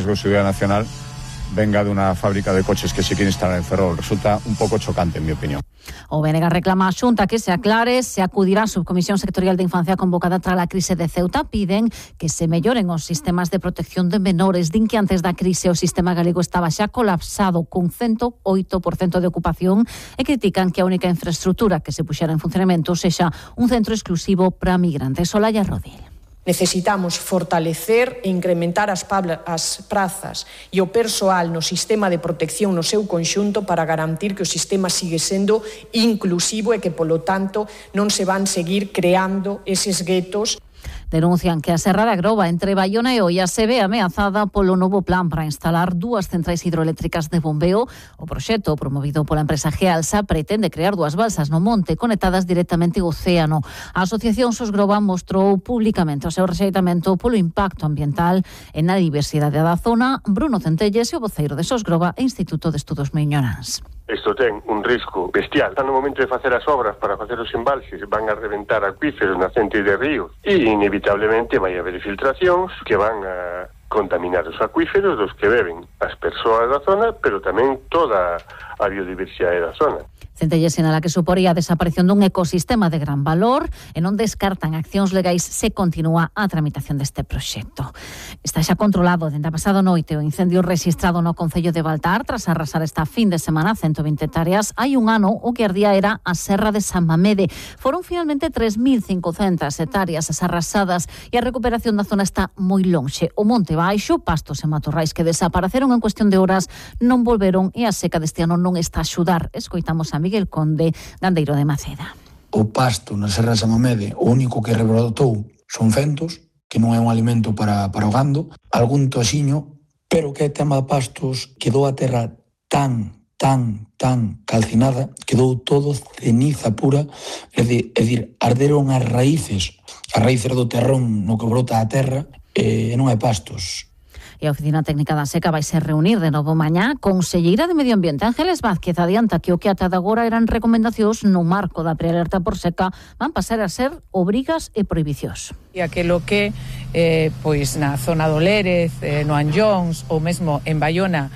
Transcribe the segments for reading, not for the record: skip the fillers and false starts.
riesgo de seguridad nacional venga de una fábrica de coches que se quiere instalar en Ferrol. Resulta un pouco chocante, en mi opinión. O BNG reclama a Xunta que se aclare se acudirá a Subcomisión Sectorial de Infancia convocada tras a crise de Ceuta. Piden que se melloren os sistemas de protección de menores. Din que antes da crise o sistema galego estaba xa colapsado con 108% de ocupación e critican que a única infraestructura que se puxera en funcionamento sexa un centro exclusivo para migrantes. Olaya Rodil. Necesitamos fortalecer e incrementar as prazas e o persoal no sistema de protección no seu conxunto para garantir que o sistema sigue sendo inclusivo e que, polo tanto, non se van seguir creando eses guetos. Denuncian que a Serra da Groba entre Baiona e Oia se ve ameazada polo novo plan para instalar 2 centrais hidroeléctricas de bombeo. O proxecto, promovido pola empresa Gealsa, pretende crear 2 balsas no monte conectadas directamente ao océano. A Asociación SOS Groba mostrou públicamente o seu rexeitamento polo impacto ambiental e na diversidade da zona. Bruno Centelles, o voceiro de SOS Groba e Instituto de Estudos Miñoráns. Isto ten un risco bestial. No momento de facer as obras para facer os embalses van a reventar acuíferos nacentes de ríos e inevitablemente vai haber filtracións que van a contaminar os acuíferos dos que beben as persoas da zona, pero tamén toda a biodiversidade da zona. Centelles sinala que suporía a desaparición dun ecosistema de gran valor e non descartan accións legais se continúa a tramitación deste proxecto. Está xa controlado dende a pasado noite o incendio rexistrado no concello de Baltar tras arrasar esta fin de semana 120 hectáreas. Hai un ano o que ardía era a Serra de San Mamede. Foron finalmente 3.500 hectáreas as arrasadas e a recuperación da zona está moi lonxe. O monte baixo, pastos e matorrais que desapareceron en cuestión de horas non volveron e a seca deste ano non está a axudar. Escoitamos a Miguel Conde, gandeiro de Maceda. O pasto na Serra de San Mamede, o único que rebrotou son fentos, que non é un alimento para o gando, algún toxiño, pero que é tema de pastos, quedou a terra tan calcinada, quedou todo ceniza pura, é dicir, arderon as raíces do terrón no que brota a terra, e non hai pastos. E a Oficina Técnica da Seca vai se reunir de novo mañá. Conselleira de Medio Ambiente Ángeles Vázquez adianta que o que ata agora eran recomendacións no marco da prealerta por seca van pasar a ser obrigas e prohibicións. E aquilo que pois na zona do Lérez, no Anllóns ou mesmo en Baiona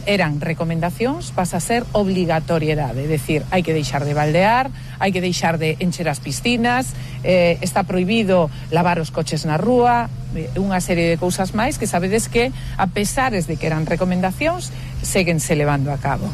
eran recomendacións, pasa a ser obligatoriedade, é dicir, hai que deixar de baldear, hai que deixar de encher as piscinas, está prohibido lavar os coches na rúa, unha serie de cousas máis que sabedes que, a pesares de que eran recomendacións, séguense levando a cabo.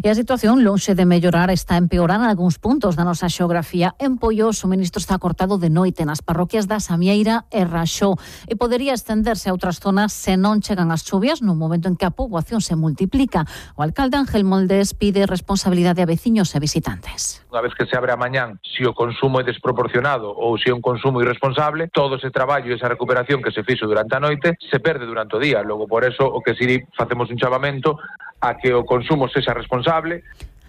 E a situación, lonxe de mellorar, está empeorando en algúns puntos da nosa xeografía. En Poio, o suministro está cortado de noite nas parroquias da Samieira e Raxó e podería estenderse a outras zonas se non chegan as chuvias no momento en que a poboación se multiplica. O alcalde Ángel Moldes pide responsabilidade a veciños e visitantes. Unha vez que se abre a mañán, se o consumo é desproporcionado ou se é un consumo irresponsable, todo ese traballo e esa recuperación que se fixo durante a noite se perde durante o día. Logo, por eso, o que si facemos un chamamento a que o consumo sexa responsable.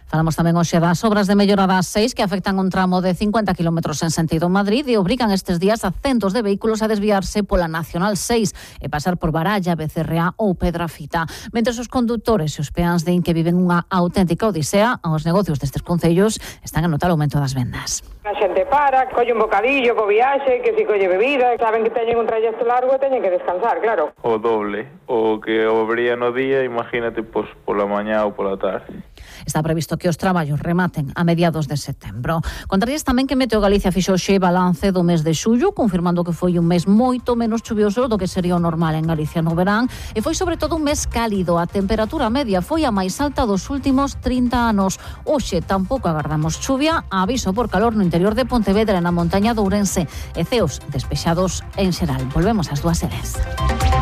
Falamos tamén hoxe das obras de mellora das 6 que afectan un tramo de 50 km en sentido Madrid e obrigan estes días a centos de vehículos a desviarse pola Nacional 6 e pasar por Baralla, Becerrea ou Pedrafita. Mentres os condutores e os peáns din que viven unha auténtica odisea, os negocios destes concellos están a notar o aumento das vendas. A xente para, colle un bocadillo co viaxe, que si colle bebida, saben que teñen un trayecto largo e teñen que descansar, claro. O doble, o que obría no día, imagínate, pois pola mañá ou pola tarde. Está previsto que os traballos rematen a mediados de setembro. Contarías tamén que Meteo Galicia fixo xe balance do mes de xullo, confirmando que foi un mes moito menos chuvioso do que sería o normal en Galicia no verán, e foi sobre todo un mes cálido. A temperatura media foi a máis alta dos últimos 30 anos. Hoxe tampouco agardamos chuvia, aviso por calor no interior de Pontevedra, na montaña de Ourense, e ceos despexados en xeral. Volvemos ás 2:10.